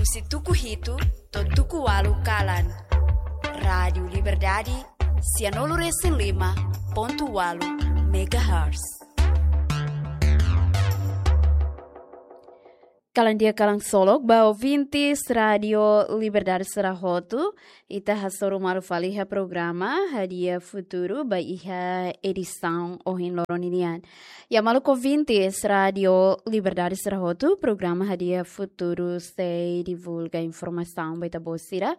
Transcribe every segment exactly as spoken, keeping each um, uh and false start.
Husi tuku hitu to'o tuku ualu kalan. Rádiu Liberdade, sianulu resin lima pontu ualu megahertz. Kalan di'ak, kalan solok ba ouvintes Rádiu Liberdade sira hotu, ita hasoru malu fali iha programa Hadi'a Futuru ba iha edisaun ohin loron ninian. Ya maluk ouvintes Rádiu Liberdade sira hotu, programa Hadi'a Futuru sei divulga informasaun ba ita-boot sira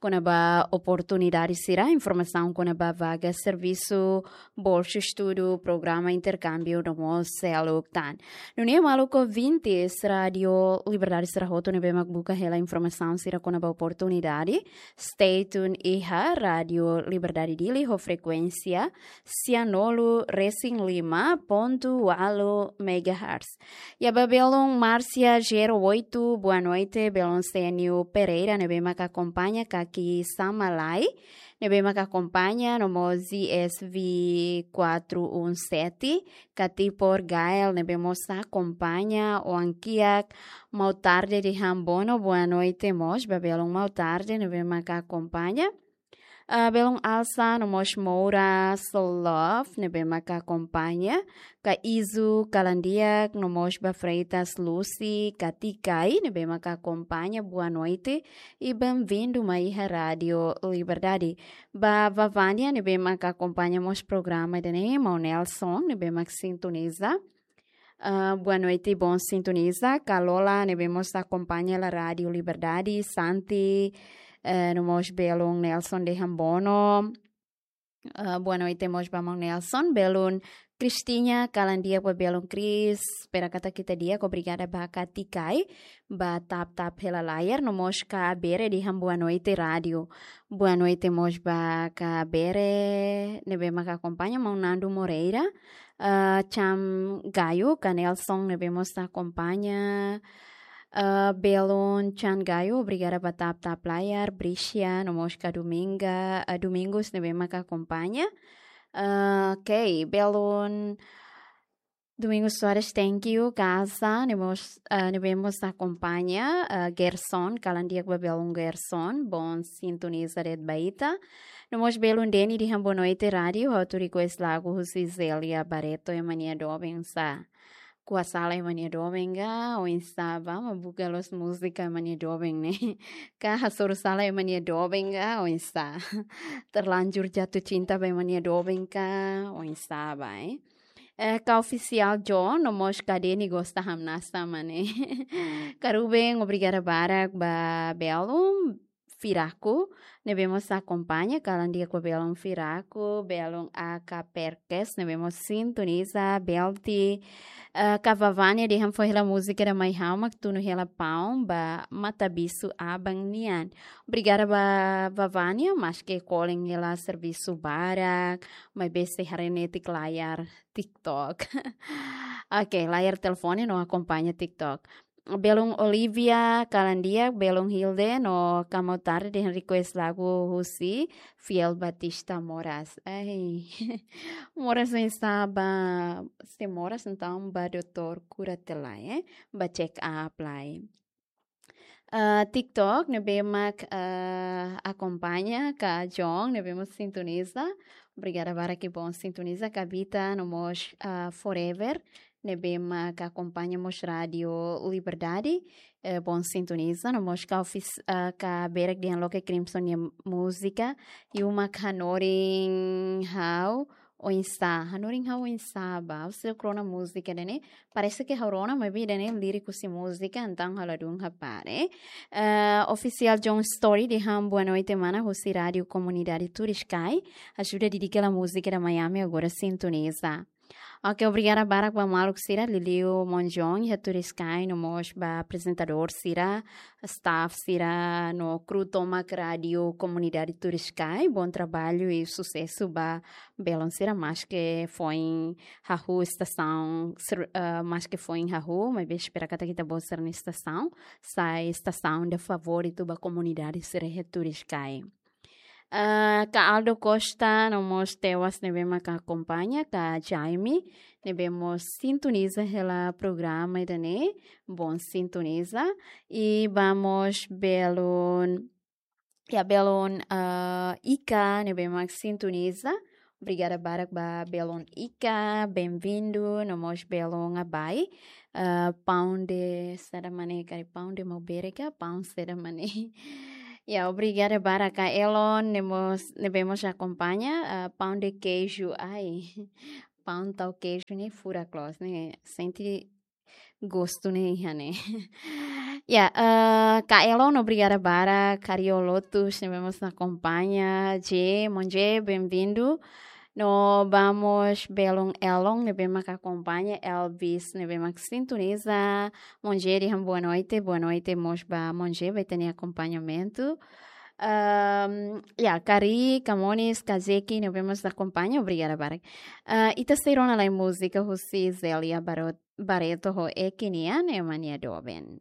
kona-ba oportunidade sira, informasaun kona-ba vaga servisu, bolsa estudu, programa interkámbiu no mós seluk tan. Nune'e maluk ouvintes Rádiu Liberdade sira hotu ne'ebé mak buka hela informasaun sira kona-ba oportunidade, stay tuned iha Rádiu Liberdade Dili ho frekuénsia sianulu resin lima pontu ualu megahertz. Ya ba belun Márcia zero oito, boa noite, belun Sênio Pereira, ne'ebé mak akompaña Kaki Samalai, ne'ebé mak akompaña no mós Z S V quatro um sete, Katipor Gael, ne'ebé mós akompaña, Oan Kiak, Mau Tarde de Hambono, boa noite mós ba belun Mau Tarde, ne'ebé mak akompaña. Ah, belun Alsa no mós Moura Solov, ne'ebé mak akompaña, ka Izu Kalandiak, no mós ba Freitas Lucy, ka Tikai, ne'ebé mak akompaña, boa noite, i bem-vindo mai iha Rádiu Liberdade. Ba Vavania, ne'ebé mak akompaña mós programa ida-ne'e, Mau Nelson, ne'ebé mak sintoniza. Ah, boa noite, bom sintoniza. Kalola, ne'ebé mós akompaña hela Rádiu Liberdade, Santi, eh, no mós belun Nelson de Hambono. Ah, boa noite mós ba Mau Nelson, belun Cristina, kalan di'ak ba belun Cris, espera katak ita di'ak, obrigada ba Katikai, ba tap-tap hela layar, no mós Ka Bere dehan boa noite rádiu. Boa noite mós ba Ka Bere, ne'ebé mak akompaña, Mau Nando Moreira, ah, Chan Gayo, ka Nelson ne'ebé mós akompaña, ah, belun Chan Gayo, obrigada ba tap-tap layar, Bricia, no mós ka Dominga, ah, Domingos ne'ebé mak akompaña. Ah, ok, belun Domingos Soares, thank you, Gaza, ne'ebé mós, ah, ne'ebé mós akompaña, ah, Gerson, kalan di'ak ba belun Gerson, bom sintoniza de'it ba ita. No mós belun Deni dehan boa noite rádiu, ha'u atu request lagu husi Zélia Barreto, Ema nia Doben sá. Ko'a sala ema nia doben ka, oinsá ba, mak buka loos múzika ema nia doben ne'e. Ka hasoru sala ema nia doben ka, oinsá. Terlanjur jatuh cinta ba ema nia doben ka, oinsá ba, eh. Eh, ka Official John, no mós ka Deni gosta hamnasa mane. Ka Ruben, obrigada barak ba belun Firaku, ne'ebé mós akompaña, kalan di'ak ba belun Firaku, belun A K Perkes, ne'ebé mós sintoniza, Belti, eh, ka Vavania dehan fó hela múzika ida mai ha'u mak tunu hela paun ba Matabisu Aban nian. Obrigada ba Vavania, maske kolen hela servisu barak, maibé sei haree netik layar TikTok. Ok, layar telefone no akompaña TikTok. Belun Olivia, kalan di'ak, belun Hilde, no ka Mau Tarde dehan request lagu husi Fiel Batista Moras. Ai, Moras oinsá ba, se Moras entaun ba doutór kura tiha lai, eh? Ba check up lai. Ah, TikTok, ne'ebé mak, ah, akompaña, ka John, ne'ebé mak sintoniza. Obrigada barak i bom sintoniza, ka Bita, no mós, ah, Forever, ne'ebé mak akompaña mós Rádiu Liberdade, eh, bom sintoniza, no mós ka ofis-, ah, ka Berek dehan loke Crimson nia múzika, Yu mak hanorin ha'u oinsá, hanorin ha'u oinsá ba, ha'u sei rona múzika ida-ne'e, parese ke ha'u rona, maibé ida-ne'e líriku husi múzika, entaun ha'u ladún hapara. Eh, Official John Story dehan boa noite mana, husi Rádiu Komunidade Turiscai, ajuda dedika hela múzika ida Miami agora sintoniza. Ok, obrigada barak ba maluk sira, liuliu Mon John, iha Turiscai, no mós ba aprezentadór sira, staff sira, no kru tomak Rádiu Komunidade Turiscai, bom trabalho i susesu ba belun sira, maske foin hahú estasaun, ser-, eh, maske foin hahú, maibé espera katak ita-boot sira-nia estasaun sai estasaun ida favoritu ba komunidade sira iha Turiscai. Ah, ka Aldo Costa, no mós Tewas ne'ebé mak akompaña, ka Jaime ne'ebé mós sintoniza hela programa ida-ne'e, bom sintoniza. I ba mós belun, ya, belun, ah, Ika ne'ebé mak sintoniza. Obrigada barak ba belun Ika, bem-vindo, no mós belun Abai. Ah, pão de saida mak ne'e, karik pão de Maubere ka, pão saida mak ne'e. Ya, obrigada barak ka Elon, ne'e mós, ne'ebé mós akompaña, ah, pão de queijo, ai. Pão tau queijo ne'e furak loos, ne'e sente gostu ne'e iha ne'e. Ya, ah, ka Elon, obrigada barak, Cario Lotus, ne'ebé mós akompaña, J, Monje, bem-vindo. No ba mós belun Elon, ne'ebé mak akompaña, Elvis, ne'ebé mak sintoniza, Monje dehan boa noite, boa noite mós ba Monje, ba ita-nia akompañamentu. Ahm, ya, Kari, Kamonis, Kazeki, ne'ebé mós akompaña, obrigada barak. Ah, ita sei rona lai múzika husi Zélia Barot-, Barreto ho Eki nian, ema nia doben.